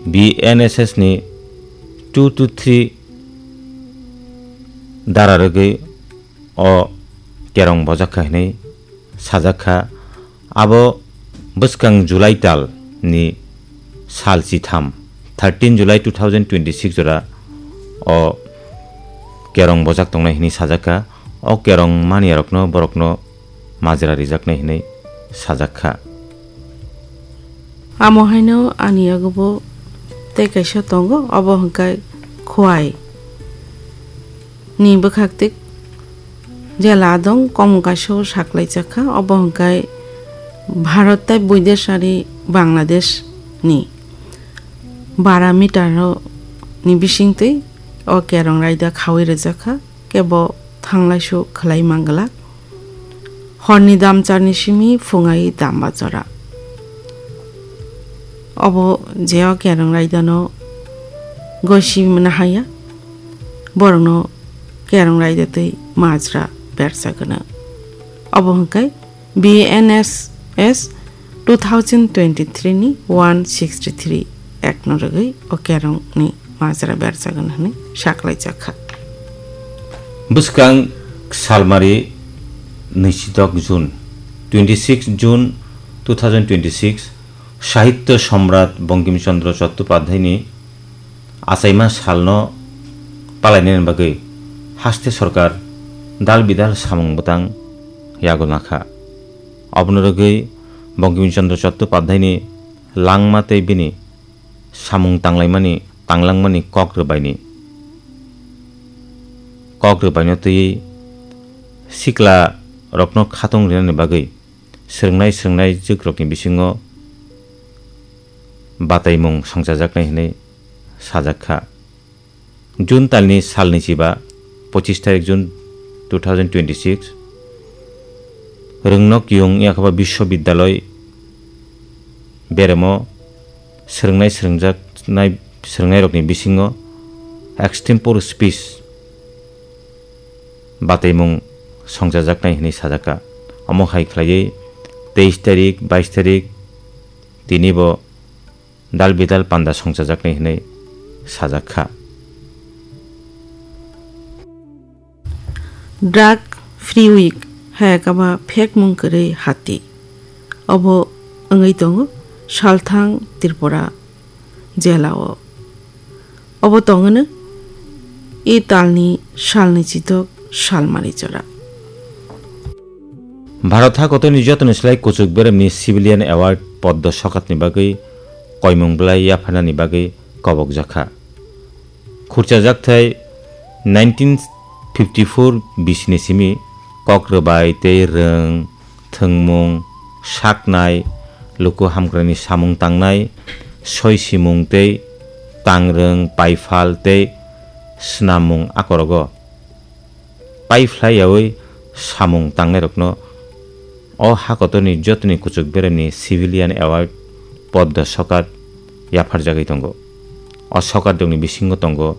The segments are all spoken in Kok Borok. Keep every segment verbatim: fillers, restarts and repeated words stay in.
B N S S ni two to three dara rwgwi o kerong bojak kha hinwi sajak kha. Abo bwskang July tal ni sal chitham, thirteen July two thousand twenty-six jora o kerong bojak tongnai hinwi sajak kha. O kerong maniyarokno borokno majra rijaknai hinwi sajak kha. Amo haino ani yagubo tei kaisa tongo, obo hwnkhe Khowai ni bwkhak twi jela adong komung kaisa o saklaijak kha, obo hwnkhe Bharat tei Buidesh ari Bangladesh ni bara meter o ni bising twi o kerong raida khaui rwjak kha. Kebo thanglaisu khwlai manglak. Horni damcharni simi phungai damba jora. Obo je o kerong raidano gosi mwnahaya, borokno kerong raida twi majra bersa gwnang. Obo hwnkhe B N S S two thousand twenty-three ni one sixty-three act no rwgwi o kerong ni majra berjagan hwnwi saklaijak kha. Bwskang salmari nwisidok June, twenty-six June two thousand twenty-six, Sahitya Samrat Bankim Chandra Chattopadhyay ni achaima salno palainani bagwi haste sorkar dal bidal samung bwtang yagulna kha. Obono rwgwi Bankim Chandra Chattopadhyay ni langma tei bini samung tanglaimani, tanglangmani kok rwbaini, kok rwbaino twiwi sikla rokno khatung rinani bagwi swrwngnai, swrwngnai jwkrokni bisingo bataimung songchajaknai hwnwi sajak kha. June talni salni chiba, pochis tarik June two thousand twenty-six, Rwngnok Yung Yakhaba Biswabidyaloi beremo swrwngnai, swrwngjaknai, swrwngnairokni bisingo extempore speech bataimung songchajaknai hwnwi sajak kha. Omo hai khlaiwi teis tarik, bais tarik tinibo dal bidal panda songchajaknai hwnwi sajak kha. Drug Free Week hai kaba phekmung kwrwi hati. Obo wngwi tongo Salthang Tripura jela o. Obo tongwno e talni salni chitok salmari jora. Bharat hakotorni jotoni slai kuchuk beremni Civilian Award Poddo Sokatni bagwi koimung bwlai yapharnani bagwi kobokjakha. Khurchajakthai nineteen fifty-four bisini simi kok rwbai tei rwng, thwngmung, saknai, luku hamkrani samung tangnai, soi simung tei tangrwng, paiphal tei snamung akorogo paiphlai yaui samung tangnairokno o hakotorni jotoni kuchuk beremni Civilian Award Poddo Sokat yapharjagwi tongo. O sokat rokni bisingo tongo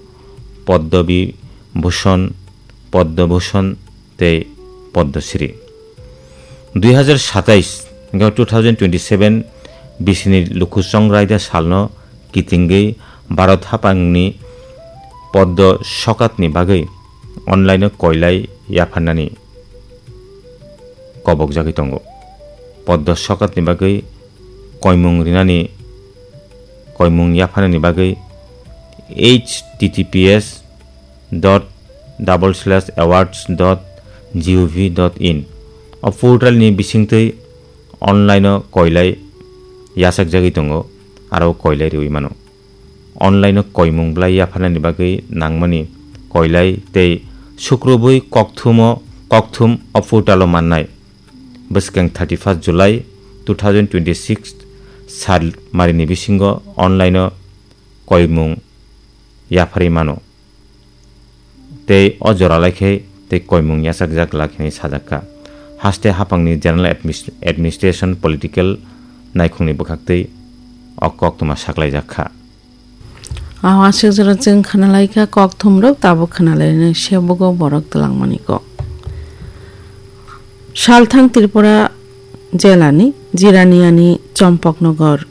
Poddo Bibhushon, Poddo Bhushon tei Poddo Shri. Dui hazar satais, two thousand twenty-seven bisini luku chongraida salno kitingwi Bharat haphangni Poddo Sokatni bagwi online-o koilai yapharnani kobokjagwi tongo. Poddo Sokatni bagwi koimung rinani, koimung yapharnani bagwi H T T P S dot double slash awards dot gov dot in o portalni bisingtwi online-o koilai yachakjagwi tongo, aro koilai riui mano. Online-o koimung bwlai yapharnani bagwi nangmani koilai tei sukrubwi kokthumo, kokthum o portal-o mannai. Bwskang thirty-first July two thousand twenty-six sal marini bisingo online-o koimung yapharwi mano. Tei o jora lai khe tei koimung yachakjak glak hinwi sajak kha. Haste haphangni General Admis-, Administration Political naikhungni bwkhaktwi o koktwma saklaijak kha. Aho aswk jora chwng khwnalai kha, kokthumrok tabuk khwnalainai sebogo borok twlangmani kok. Salthang Tripura jelani Jiraniani Chompoknogor